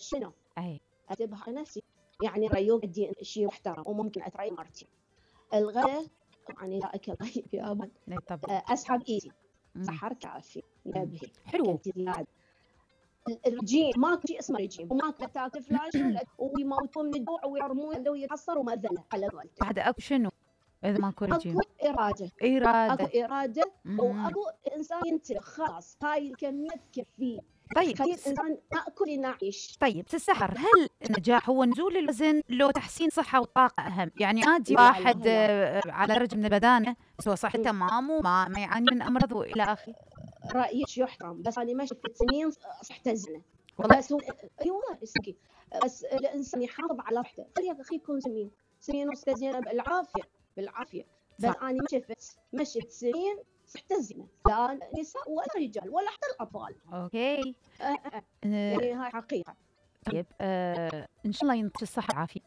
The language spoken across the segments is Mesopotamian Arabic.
شنو اي اتبها نفسي، يعني ريوق ادي شيء محترم وممكن اتريق مرتين. الغداء يعني لا اكل طيب يا ابد، طبعا اسحب ايدي سحر كافي نبهي حلو. زياده. الرجيم ماكو شيء اسمه رجيم، وماكو تاكل فلاش ويموتون من الجوع ويرمون ويتحصر ومأذنه على قولتك. بعد اكو شنو اذا ماكو رجيم؟ اكو اراده، اراده، اكو اراده واكو انسان ينتبه خلاص هاي الكميه تكفيه. طيب خلي الانسان ناكل نعيش. طيب السحر، هل النجاح هو نزول الوزن لو تحسين صحه وطاقه اهم؟ يعني عادي واحد على درجه من البدانه بس هو صحته تمام وما يعاني من امراض والى اخره. رايك يحترم، بس انا ما شفت سنين صحته زينه. والله بس هو ايوه اسكي، بس الانسان يحافظ على صحته. خلي اخي يكون سنين وصحته زينه بالعافيه. بس انا ما شفت سنين صحته زينه، لا نساء ولا رجال ولا حتى الاطفال. اوكي يعني هاي حقيقه. طيب ان شاء الله ينطيك الصحه والعافيه.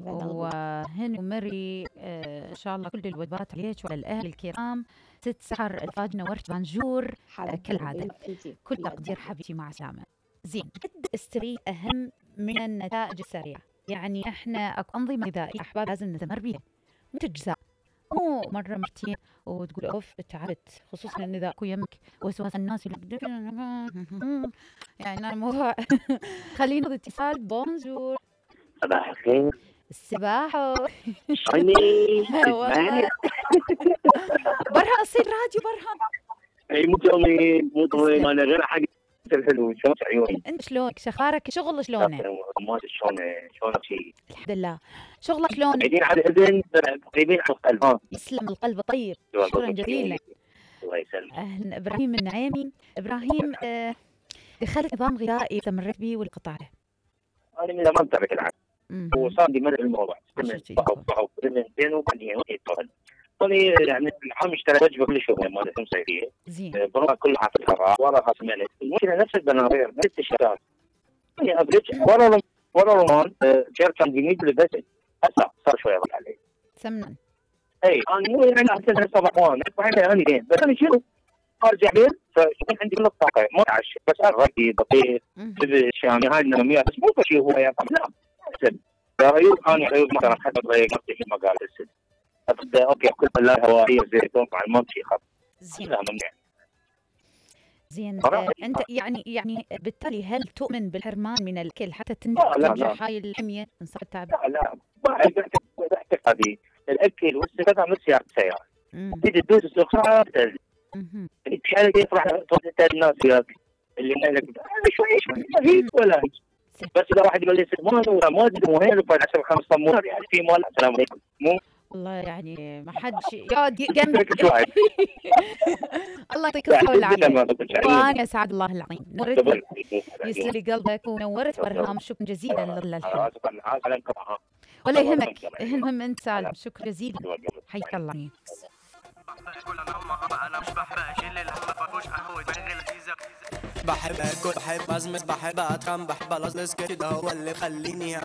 وهن ومري ان شاء الله كل الوجبات عليك وعلى الاهل الكرام. ست سحر الفاج نورت بانجور كالعاده. كل تقدير حبيبتي، مع السلامه. زين، قد السريع اهم من النتائج السريعه. يعني احنا اكو انظمه غذائيه احباب لازم نستمر بها، مو تجزاء، مو مره مرتين وتقول اوف تعبت، خصوصا ان اذا اكو يمك وسواس الناس يعني انا الموضوع خلينا اتصال. بونجور. صباح الخير. السباحة شلونك؟ والله برهان اصير راديو برهان. اي مو طويل انا غير حق الحلو. شلون عيوني؟ انت شلونك؟ شخارك شغل شلونه؟ ما شلونه شيء. الحمد لله. شغلك شلون؟ قاعدين على الاذن قريبين على القلب. يسلم القلب. طيب شكرا جزيلا. الله يسلمك. اهلا ابراهيم النعيمي. ابراهيم دخلت نظام غذائي استمريت به ولا قطعته؟ انا من زمان تابعت العالم وصار لي ملء الموضوع او سنتين وبعدين يتطور. طلي يعني العام اشترى وجبه كل شهر مالت صيفيه. زين. بروح كلها في الحراره وراها ملك. المشكله نفس البناطيل نفس الشغلات. يعني افريج ورا رمان كان جديد للبسل. هسه صار شويه ضل علي. سمنا. اي انا مو يعني احسن صباحوان انا زين بس انا شنو؟ ارجع بين فيكون عندي من الطاقه ما اتعشى بس ارغي بطيخ الشامي هاي النوميات بس مو شيء هو يا لا احسن. عيوب انا عيوب مثلا حتى ضيق نفسي ما قال السد. ابدا اوكي كل لا هوائيه زيتون مع الممشي خط. زين. زين انت يعني بالتالي هل تؤمن بالحرمان من الكل حتى تنجح هاي الحميه من صعب التعب؟ لا ما اعتقد الاكل والسكر مثل سيارة تيجي تدوس السكر تنزل. الحاله دي يفرح الناس وياك اللي مالك شوي ما في ولا بس اذا واحد يقول لي سلمان وما ادري وين وبعد 10 5 صمون يعني في مال السلام عليكم مو والله يعني ما حدش يقعد جنبك. الله يعطيك الصحة والعافية. وأنا أسعد الله العظيم. نورت يسلم لي قلبك ونورت برهام. شكرا جزيلا للحب. ولا يهمك، المهم أنت سالم. شكرا جزيلا، حياك الله. بحب اكل بحب ازمس بحب اتخن بحب الازلز كده هو اللي خليني